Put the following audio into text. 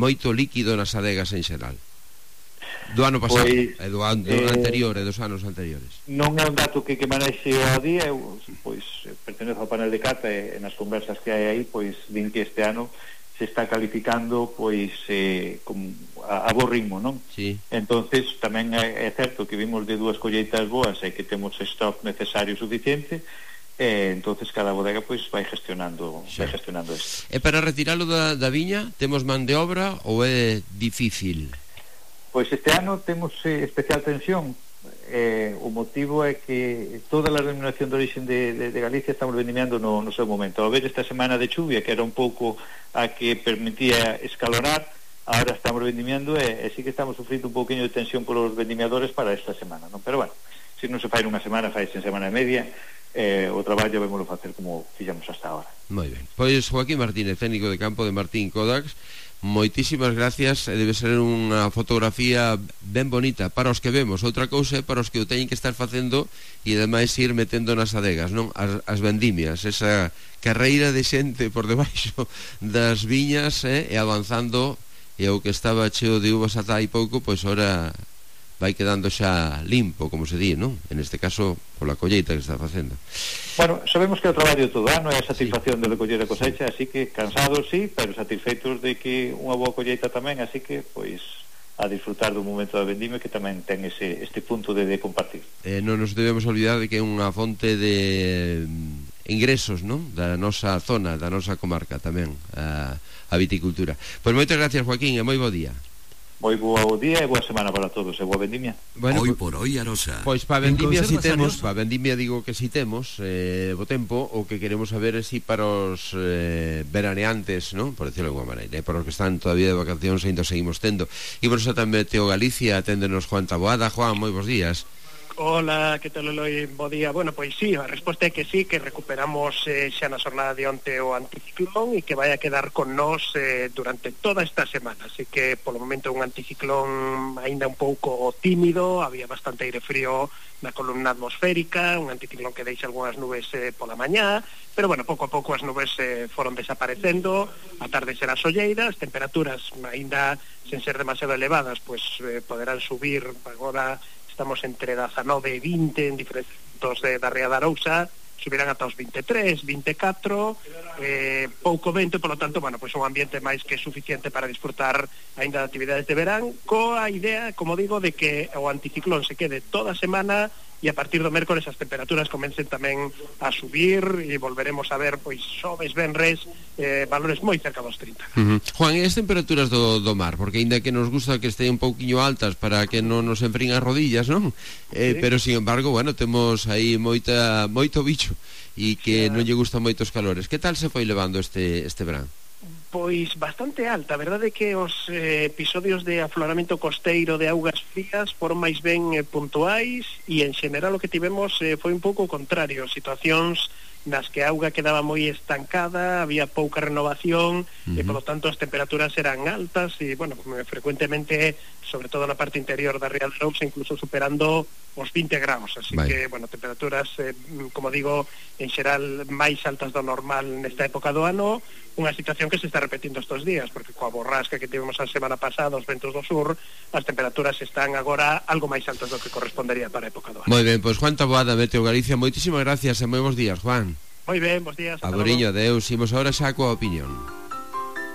moito líquido nas adegas en xeral do ano pasado e do anterior e dos anos anteriores. Non é un dato que manexe ao día. Eu pois pertenezo ao panel de cata e nas conversas que hai aí pois din que este ano se está calificando pois a bo ritmo, non? Sí. Entonces tamén é certo que vimos de dúas colleitas boas e que temos stock necesario suficiente, entonces cada bodega pois vai gestionando isto. E para retiralo da viña temos man de obra ou é difícil? Pois este ano temos especial tensión. O motivo é que toda a denominación de origen de Galicia estamos vendimiando no seu momento. Ao ver esta semana de chuvia, que era un pouco a que permitía escalorar, ahora estamos vendimiando e sí que estamos sufrindo un pouquinho de tensión polos vendimiadores para esta semana, non? Pero bueno, se non se fai nunha semana, fai en semana e media. O traballo vemoslo facer como fixamos hasta ahora. Moi ben. Pois Joaquín Martínez, técnico de campo de Martín Kodax, moitísimas gracias. Debe ser unha fotografía ben bonita para os que vemos, outra cousa é para os que o teñen que estar facendo e ademais ir metendo nas adegas, non? As vendimias, esa carreira de xente por debaixo das viñas e avanzando, e o que estaba cheo de uvas ata hai pouco, pois ora vai quedando xa limpo, como se di, non? En este caso, pola colleita que está facendo. Bueno, sabemos que o traballo todo ano é a satisfacción de recoller a cosecha, así que cansados sí, pero satisfeitos de que unha boa colleita tamén, así que, pois, a disfrutar do momento da vendimia que tamén ten este punto de compartir. Non nos debemos olvidar de que é unha fonte de ingresos, non? Da nosa zona, da nosa comarca tamén, a viticultura. Pois moitas gracias, Joaquín, e moi bo día. Moi bo día e boa semana para todos e boa vendimia. Bueno, hoy por hoy Arosa. Pois para vendimia si temos, para vendimia digo que si temos bo tempo. O que queremos saber é si para os veraneantes, non? Por decirlo de alguma maneira, para os que están todavía de vacacións ainda seguimos tendo. E por eso tamén Meteo Galicia aténdenos Juan Taboada. Juan, moi bons días. Hola, que tal, Eloi? Bo día. Bueno, pois sí, a resposta é que sí, que recuperamos xa na xornada de onte o anticiclón e que vai a quedar con nós durante toda esta semana. Así que, polo momento, un anticiclón aínda un pouco tímido, había bastante aire frío na columna atmosférica, un anticiclón que deixa algunhas nubes pola mañá, pero, bueno, pouco a pouco as nubes foron desaparecendo, a tarde será solleira, as temperaturas aínda sen ser demasiado elevadas, pois poderán subir agora. Estamos entre 19 e 20 en diferentes puntos da Ría da Arousa, subirán ata os 23, 24, pouco vento, polo tanto, bueno, pois un ambiente máis que suficiente para disfrutar aínda de actividades de verán, coa idea, como digo, de que o anticiclón se quede toda a semana e a partir do mércores as temperaturas comecen tamén a subir e volveremos a ver, pois, xoves, venres, valores moi cerca dos 30. Juan, e as temperaturas do mar? Porque ainda que nos gusta que estén un pouquiño altas para que non nos enfríen as rodillas, non? Sí. Pero, sin embargo, bueno, temos aí moito bicho e que non lle gustan moitos calores. Que tal se foi levando este verán? Pois bastante alta, a verdade é que os episodios de afloramento costeiro de augas frías foron máis ben puntuais e en xeral o que tivemos foi un pouco o contrario, situacións nas que a auga quedaba moi estancada, había pouca renovación e polo tanto as temperaturas eran altas e, bueno, frecuentemente, sobre todo na parte interior da Ría de Arousa, incluso superando os 20 graus, así que, bueno, temperaturas, como digo, en xeral máis altas do normal nesta época do ano, unha situación que se está repetindo estes días, porque coa borrasca que tivemos a semana pasada, os ventos do sur, as temperaturas están agora algo máis altas do que correspondería para a época do ano. Moi ben, pois Juan Taboada, Meteo Galicia, moitísimas gracias e moi bons días, Juan. Moi ben, bons días. Aboriño, adeus, imos agora xa coa opinión.